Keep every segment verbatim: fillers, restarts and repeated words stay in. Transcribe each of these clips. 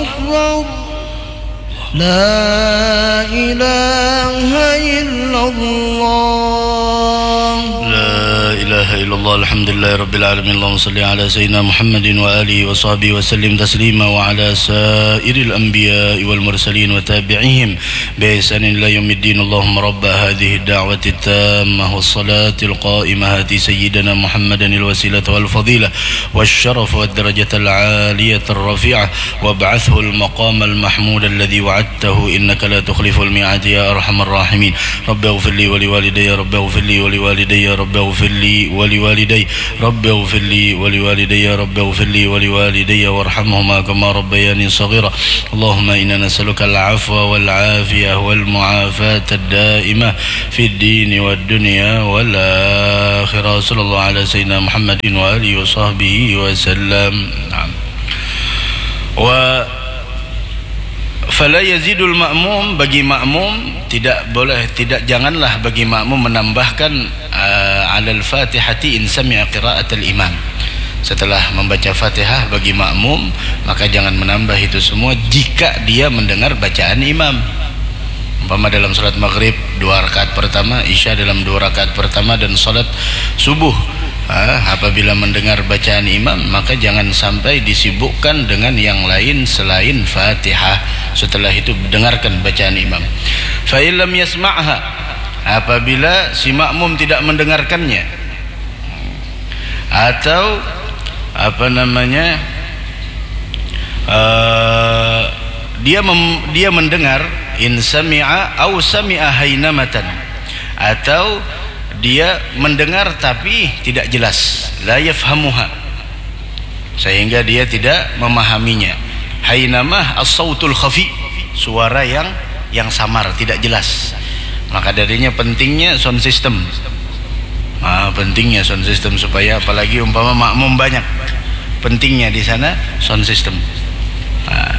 أكبر. لا إله إلا الله. لا إله إلا الله. الحمد لله رب العالمين. اللهم صل على سيدنا محمد وآله وصحبه وسلم تسليما، وعلى سائر الأنبياء والمرسلين وتابعيهم بإحسان إلى يوم الدين. اللهم رب هذه الدعوة التامة والصلاة القائمة، آت سيدنا محمدا الوسيلة والفضيلة والشرف والدرجة العالية الرفيعة، وابعثه المقام المحمود الذي وعدته، إنك لا تخلف الميعاد يا أرحم الراحمين. رب اغفر لي ولوالدي، رب اغفر لي ولوالدي، رب اغفر لي ولوالدي، رب اغفر لي ولوالدي، رب اغفر لي ولوالدي وارحمهما كما ربياني صغيرا. اللهم إنا نسألك العفو والعافية والمعافاة الدائمة في الدين والدنيا والآخرة. صلى الله على سيدنا محمد وآله وصحبه وسلم. نعم. Wa fala yazidul ma'mum, bagi makmum tidak boleh, tidak, janganlah bagi makmum menambahkan, eh, alal fatihati in sami'a qiraatal imam. Setelah membaca Fatihah bagi makmum, maka jangan menambah itu semua jika dia mendengar bacaan imam. Umpama dalam salat maghrib dua rakaat pertama, isya dalam dua rakaat pertama, dan salat subuh, ah, apabila mendengar bacaan imam, maka jangan sampai disibukkan dengan yang lain selain Fatihah. Setelah itu dengarkan bacaan imam. Fa illam yasma'ha, apabila si makmum tidak mendengarkannya, atau apa namanya, eh, dia mem-, dia mendengar, in sami'a au sami'a hainamatan, atau dia mendengar tapi tidak jelas, la yafhamuha, sehingga dia tidak memahaminya. Hainamah as-sautul khafi, suara yang, yang samar, tidak jelas. Maka darinya pentingnya sound system. Ah, pentingnya sound system supaya, apalagi umpama makmum banyak, pentingnya di sana sound system. Ah.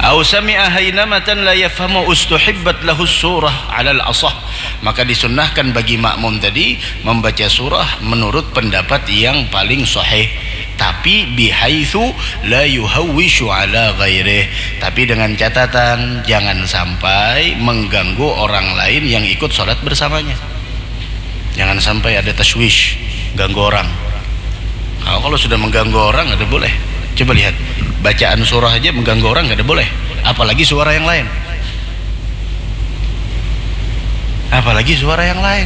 Au sami'a hainamatan la yafhamu ustuhibbat lahus surah alal asah. Maka disunnahkan bagi makmum tadi membaca surah menurut pendapat yang paling sahih, tapi bihaitsu la yuhawwisyu ala ghairih, tapi dengan catatan jangan sampai mengganggu orang lain yang ikut salat bersamanya. Jangan sampai ada tashwish, ganggu orang. Kalau, kalau sudah mengganggu orang, kada boleh. Coba lihat, bacaan surah aja mengganggu orang, kada boleh. Apalagi suara yang lain. Apalagi suara yang lain.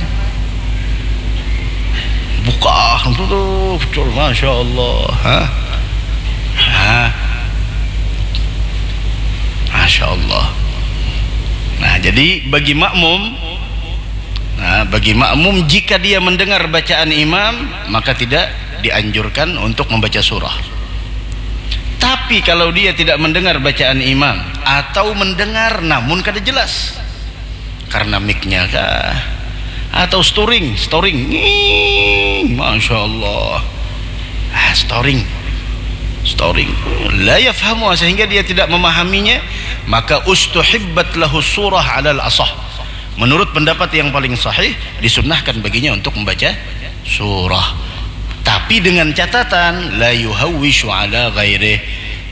Buka, tuh, tuh, betul, Masya Allah. Hah? Hah? Masya Allah. Nah, jadi bagi makmum, nah, bagi makmum, jika dia mendengar bacaan imam, maka tidak dianjurkan untuk membaca surah. Tapi kalau dia tidak mendengar bacaan imam atau mendengar namun kada jelas, karena mic-nya kah, atau storing, storing, nging, Masya Allah, ah, storing, storing, la yafhamu, sehingga dia tidak memahaminya, maka ustuhibbat lahu surah alal asah. Menurut pendapat yang paling sahih, disunnahkan baginya untuk membaca surah, tapi dengan catatan la yuhawwisyu ala ghairih,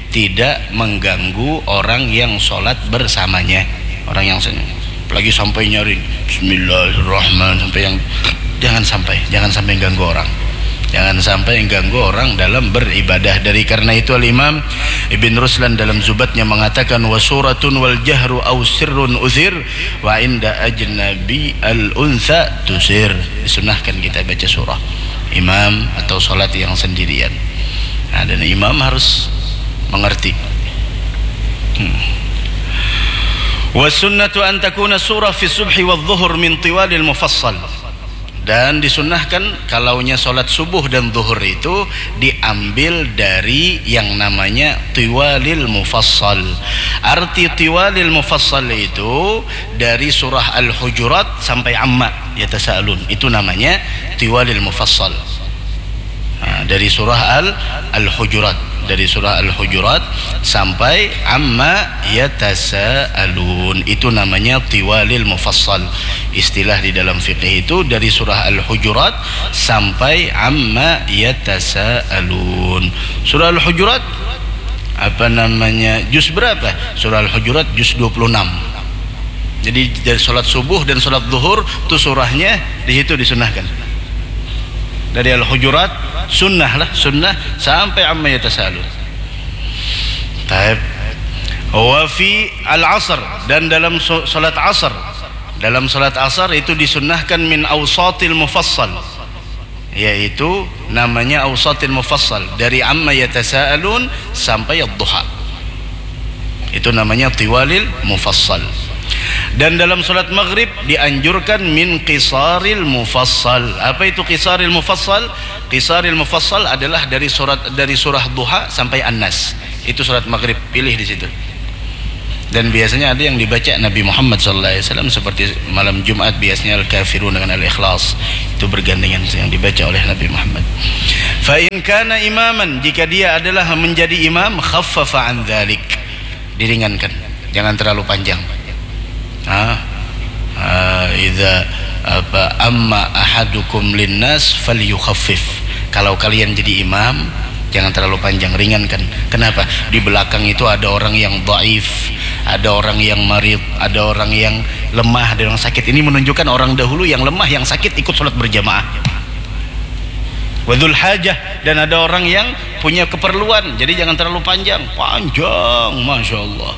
tidak mengganggu orang yang sholat bersamanya. Orang yang sen-, apalagi sampai nyaring Bismillahirrahmanirrahim, sampai yang, jangan sampai, jangan sampai ganggu orang. Jangan sampai ganggu orang dalam beribadah. Dari karena itu, Al-Imam Ibn Ruslan dalam Zubatnya mengatakan, "Wa suratun wal jahru au sirrun uthir, wa inda ajnabi al untha tusir." Disunahkan kita baca surah imam atau salat yang sendirian. Nah, dan imam harus mengerti. Hmm. Wa sunnatu an takuna surah fi subhi wa dhuhur min tiwalil mufassal. Dan disunnahkan kalaunya salat subuh dan zuhur itu diambil dari yang namanya tiwalil mufassal. Arti tiwalil mufassal itu dari surah Al-Hujurat sampai Amma yatasaalun. Itu namanya tiwalil mufassal. Nah, dari surah Al-, Al-Hujurat, dari surah Al-Hujurat sampai Amma yatasaalun. Itu namanya tiwalil mufassal. Istilah di dalam fikih itu dari surah Al-Hujurat sampai Amma yatasaalun. Surah Al-Hujurat apa namanya, juz berapa? Surah Al-Hujurat juz dua puluh enam. Jadi dari sholat subuh dan sholat zuhur tu surahnya di situ disunahkan. Dari Al-Hujurat sunnah lah, sunnah sampai amma yatasaalun. Taib. Wa fi al-asr, dan dalam so- sholat asar, dalam sholat asar itu disunnahkan min awsatil mufassal, yaitu namanya awsatil mufassal, dari amma yatasaalun sampai ad-duha. Itu namanya tiwalil mufassal. Dan dalam sholat maghrib dianjurkan min qisaril mufassal. Apa itu qisaril mufassal? Qisaril mufassal adalah dari surat, dari surah Duha sampai An-Nas. Itu sholat maghrib, pilih di situ. Dan biasanya ada yang dibaca Nabi Muhammad sallallahu alaihi wasallam, seperti malam Jumat biasanya Al-Kafirun dengan Al-Ikhlas. Itu bergandengan yang dibaca oleh Nabi Muhammad. Fa in kana imaman, jika dia adalah menjadi imam, khaffafa an dzalik. Diringankan. Jangan terlalu panjang. Nah, ah, idza apa, amma ahadukum linnas falyukhaffif. Kalau kalian jadi imam, jangan terlalu panjang, ringankan. Kenapa? Di belakang itu ada orang yang dhaif, ada orang yang marid, ada orang yang lemah, ada orang sakit. Ini menunjukkan orang dahulu yang lemah, yang sakit ikut sholat berjamaah. Wa dzul hajah, dan ada orang yang punya keperluan, jadi jangan terlalu panjang. Panjang, masya Allah.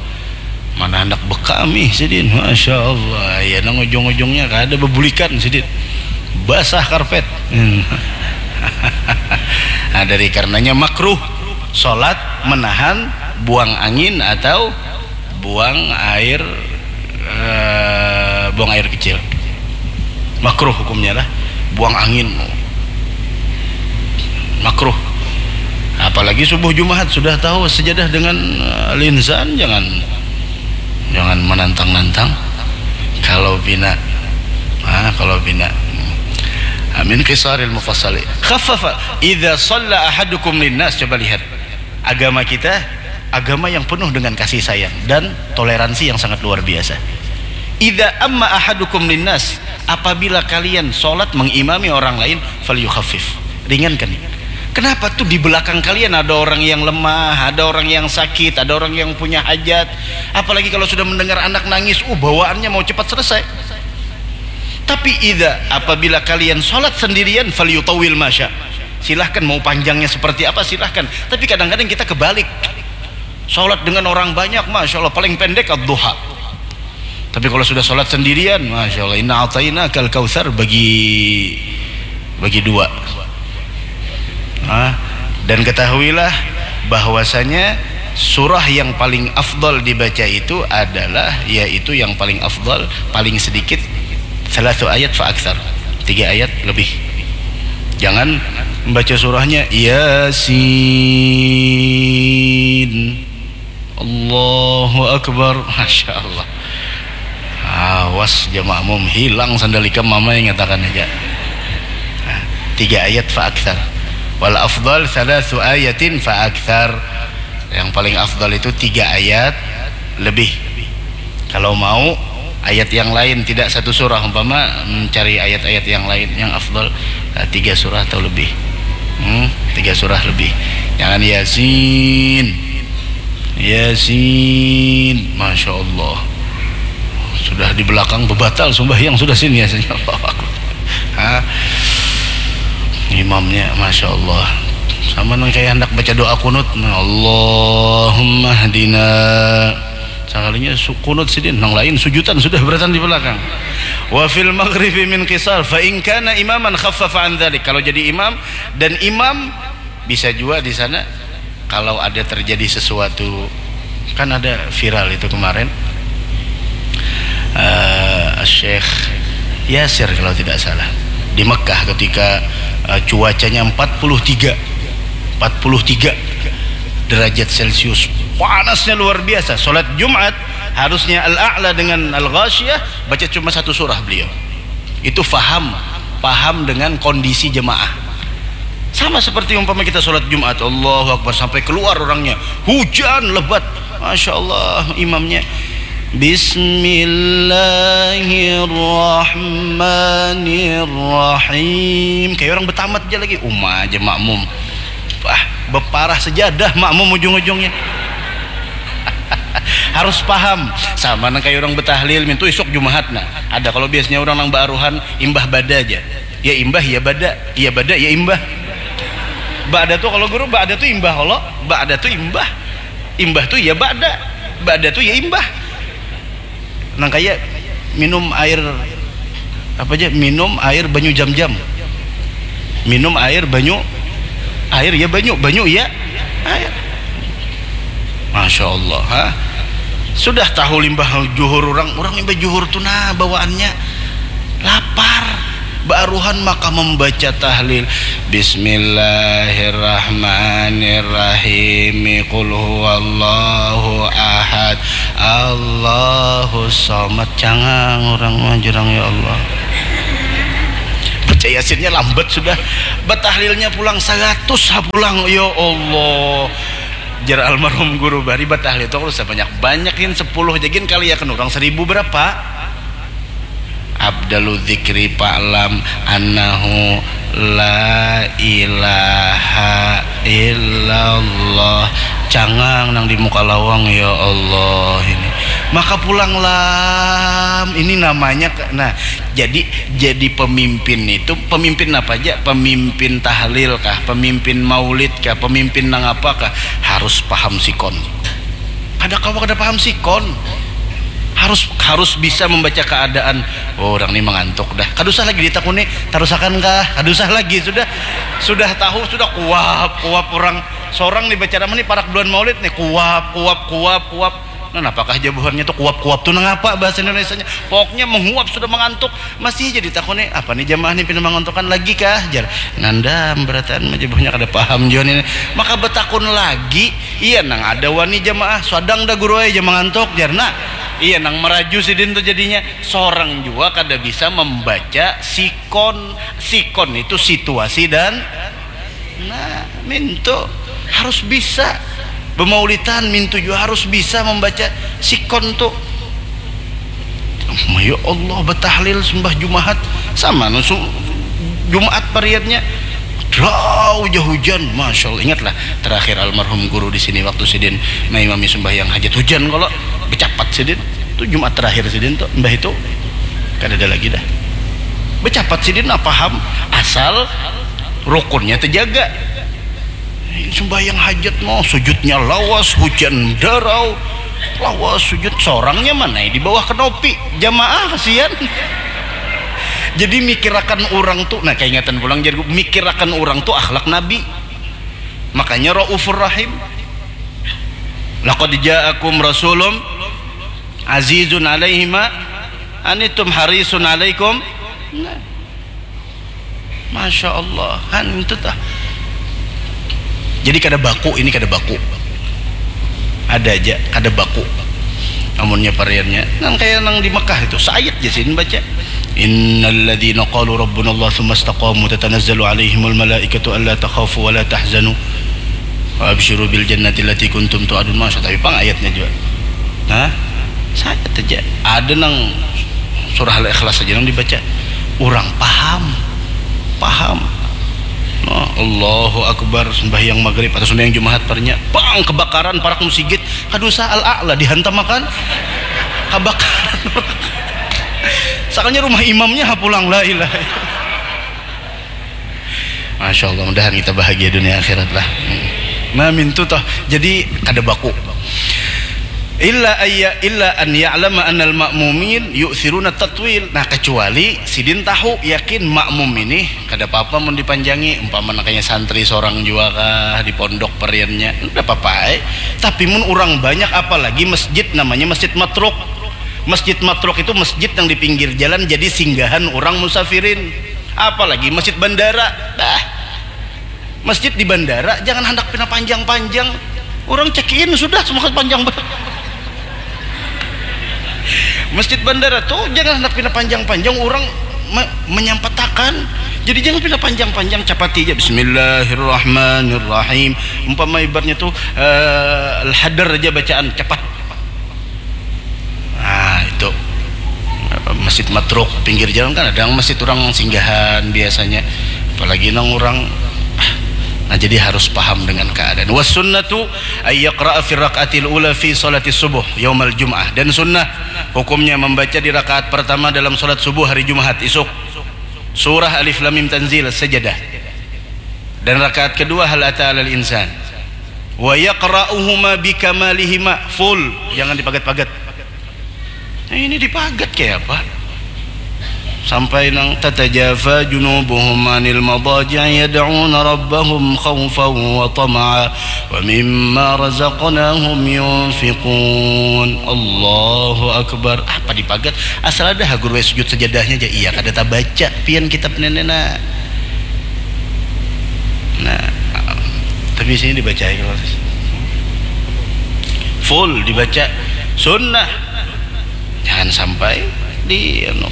Mana anak bekami sidin, masya Allah. Ya, nang ujung-ujungnya kada bebulikan sidin, basah karpet. Hmm. Nah, dari karenanya makruh sholat menahan buang angin atau buang air, eh, buang air kecil. Makruh hukumnya lah, buang angin. Makruh. Apalagi subuh Jumat, sudah tahu sejadah dengan, eh, linsan, jangan, jangan menantang-nantang. Kalau pina, ah, kalau pina. Amin qisaril mufassali. Khaffafa idza shalla ahadukum linnas. Coba lihat. Agama kita, agama yang penuh dengan kasih sayang dan toleransi yang sangat luar biasa. Idza amma ahadukum linnas, apabila kalian sholat mengimami orang lain, falyukhaffif, ringankan. Kenapa tuh di belakang kalian ada orang yang lemah, ada orang yang sakit, ada orang yang punya hajat? Apalagi kalau sudah mendengar anak nangis, uh, bawaannya mau cepat selesai. Tapi idza, apabila kalian sholat sendirian, falyutawwil masya. Silahkan, mau panjangnya seperti apa, silahkan. Tapi kadang-kadang kita kebalik. Sholat dengan orang banyak, masya Allah, paling pendek ad-duha. Tapi kalau sudah sholat sendirian, masya Allah, inna ataina kal kautsar bagi, bagi dua. Nah, dan ketahuilah bahwasanya surah yang paling afdal dibaca itu adalah, yaitu yang paling afdal, paling sedikit, salatu ayat fa aktsar, tiga ayat lebih. Jangan membaca surahnya Yasin, Allahu Akbar, masya Allah. Awas ja makmum, hilang sandal ikam, mama ingatakan aja. Nah, tiga ayat fa aktsar. Wal afdal salasu ayatin fa aktsar. Yang paling afdal itu tiga ayat lebih. Kalau mau ayat yang lain, tidak satu surah, umpama mencari ayat-ayat yang lain yang afdal, eh, tiga surah atau lebih. Hmm, tiga surah lebih. Jangan Yasin. Yasin, masya Allah. Sudah di belakang bebatal sembahyang sudah sini ya, Allahu Akbar. Ha? Imamnya, masya Allah. Sama nang kayak hendak baca doa kunut, nah, Allahumma hdina. Sakalinya su- kunut sidin, nang lain sujutan sudah beratan di belakang. Wa fil maghribi min qisar, fa in kana imaman khaffafa an dzalik. Kalau jadi imam dan imam bisa juga di sana kalau ada terjadi sesuatu, kan ada viral itu kemarin, eh, Syekh Yasir kalau tidak salah, di Mekah ketika, eh, cuacanya empat puluh tiga, empat puluh tiga derajat Celcius, panasnya luar biasa. Sholat Jumat harusnya Al-A'la dengan Al-Ghasyiyah, baca cuma satu surah beliau. Itu faham, paham dengan kondisi jemaah. Sama seperti umpama kita sholat Jumat, Allahu Akbar, sampai keluar orangnya, hujan lebat, masya Allah, imamnya Bismillahirrahmanirrahim, kayak orang betamat aja lagi, uma aja makmum. Wah, beparah sejadah makmum ujung-ujungnya. Harus paham. Sama nang kayak orang betahlil mintu isuk Jumahat. Nah, ada kalau biasanya orang nang baaruhan imbah bada aja. Ya imbah, ya bada, ya bada, ya imbah. Ba'da tuh kalau guru, ba'da tuh imbah kalau, ba'da tuh imbah. Imbah tuh ya ba'da, ba'da tuh ya imbah. Nang kayak minum air apa aja, minum air banyu jam-jam, minum air banyu, air ya banyu, banyu ya air. Masya Allah, ha? Sudah tahu limbah juhur orang, orang limbah juhur tuh nah bawaannya lapar, baaruhan maka membaca tahlil, Bismillahirrahmanirrahim, Qul huwallahu ahad, Allahu somad. Cangang orang mah jurang, ya Allah. Baca Yasinnya lambat sudah. Batahlilnya pulang seratus ha pulang, ya Allah. Jar almarhum guru, bari batahlil itu kalau sebanyak-banyak, yin sepuluh jagin kali ya kan orang seribu berapa? Abdalu dzikri fa'lam annahu la ilaha illallah. Cangang nang di muka lawang, ya Allah ini. Maka pulang lam, ini namanya ke- nah, jadi jadi pemimpin itu, pemimpin apa aja? Pemimpin tahlil kah? Pemimpin maulid kah? Pemimpin nang apa kah? Harus paham sikon. Kada kawa kada paham sikon. Harus harus bisa membaca keadaan. Oh, orang ini mengantuk dah. Kada usah lagi ditakuni, tarusakan kah? Kada usah lagi, sudah sudah tahu, sudah kuap kuap orang. Seorang nih baca nama nih parak bulan maulid nih, kuap kuap kuap kuap. Nah, apakah jabuhannya tuh kuap-kuap tuh nang apa bahasa Indonesianya? Pokoknya menguap, sudah mengantuk, masih jadi takuni, apa nih jamaah nih pina mengantukan lagi kah? Jar, nandam berataan mah jabuhannya kada paham jua nih. Maka betakun lagi, iya nang ada wani jamaah, sadang dah guru aja mengantuk, jar. Nah, iya nang meraju sidin tuh jadinya. Seorang jua kada bisa membaca sikon. Sikon itu situasi dan nah, mintu harus bisa. Bemaulitan mintu jua harus bisa membaca sikon tu. Ya Allah, betahlil sembah Jumahat sama nu su- Jumaat pariatnya. Drau ja hujan, masya Allah. Ingatlah terakhir almarhum guru di sini waktu sidin maimami sembahyang hajat, hujan kalau becapat sidin. Itu Jumaat terakhir sidin tuh, mbah itu kada ada lagi dah. Becapat sidin nah paham, asal rukunnya terjaga. Sembahyang hajat mau sujudnya lawas, hujan darau, lawas sujud, sorangnya mana di bawah kenopi, jamaah kasihan. Jadi mikirakan orang tuh, nah, kaingatan pulang, jadi mikirakan orang tuh akhlak Nabi. Makanya raufur rahim. Laqad ja'akum rasulun azizun alaihi ma anitum harisun alaikum. Nah. Masya Allah, han itu tah. Jadi kada baku, ini kada baku. Ada aja kada baku. Amunnya pariannya nang kayak nang di Mekah itu, saayat ja sidin baca. Innalladzina qalu rabbunallah tsumma istaqamu tatanazzalu alaihimul malaikatu alla takhafu wa la tahzanu wa absyiru bil jannati allati kuntum tu'adun. Masya, tapi pang ayatnya juga. Nah, saya saja ada nang surah Al-Ikhlas saja nang dibaca. Orang paham. Paham. Nah, Allahu Akbar, sembahyang maghrib atau sembahyang Jumahat parnya, bang, kebakaran, parak musigit, kada usah Al-A'la dihantamakan. Kebakaran. Sakalinya rumah imamnya ha pulang, la ilaha illallah. Masya Allah, mudahan kita bahagia dunia akhirat lah. Nah, mintu toh. Jadi kada baku. Illa ayya illa an ya'lama annal ma'mumin yu'thiruna tatwil. Nah, kecuali sidin tahu yakin makmum ini kada apa-apa mun dipanjangi, umpama nang kaya santri sorang jua kah di pondok pariannya, kada apa-apa ai. Tapi mun urang banyak, apalagi masjid namanya Masjid Matruk. Masjid Matruk itu masjid yang di pinggir jalan jadi singgahan orang musafirin. Apalagi masjid bandara. Bah. Masjid di bandara jangan handak pina panjang-panjang. Orang check in sudah semua panjang banget. Masjid bandara tuh jangan handak pina panjang-panjang, orang me- menyampatakan. Jadi jangan pina panjang-panjang, capati aja Bismillahirrahmanirrahim. Umpama ibaratnya tuh eh, al-hadar aja bacaan cepat. Nah, itu. Masjid Matruk pinggir jalan kan ada yang masjid orang singgahan biasanya. Apalagi nang orang ah, Nah, jadi harus paham dengan keadaan. Was sunnatu ay yaqra'a fi rakaatil ula fi salatis subuh yaumal jum'ah. Dan sunnah hukumnya membaca di rakaat pertama dalam salat subuh hari Jumat isuk. Surah Alif Lam Mim Tanzil, Sajadah. Dan rakaat kedua hal ata alal insan. Wa yaqra'uhuma bikamalihima, full, jangan dipagat-pagat. Nah, ini dipagat kayak apa? Sampai nang tatajafa junubuhum anil madaji'i yad'una rabbahum khaufan wa tama'a wa mimma razaqnahum yunfiqun. Allahu akbar. Apa dipagat? Asal ada ha guru sujud sajadahnya aja. Iya, kada tabaca pian kitab nenek nak. Nah, tapi sini dibaca ya, full dibaca, sunnah. Jangan sampai di anu,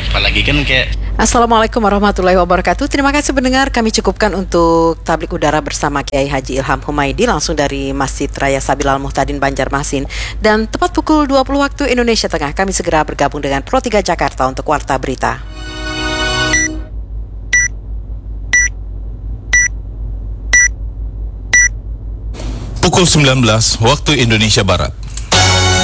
apalagi kan kayak Assalamualaikum warahmatullahi wabarakatuh. Terima kasih pendengar. Kami cukupkan untuk tablik udara bersama Kiai Haji Ilham Humaidi langsung dari Masjid Raya Sabilal Muhtadin, Banjarmasin. Dan tepat pukul dua puluh waktu Indonesia Tengah, kami segera bergabung dengan Pro tiga Jakarta untuk Warta Berita. Pukul sembilan belas waktu Indonesia Barat.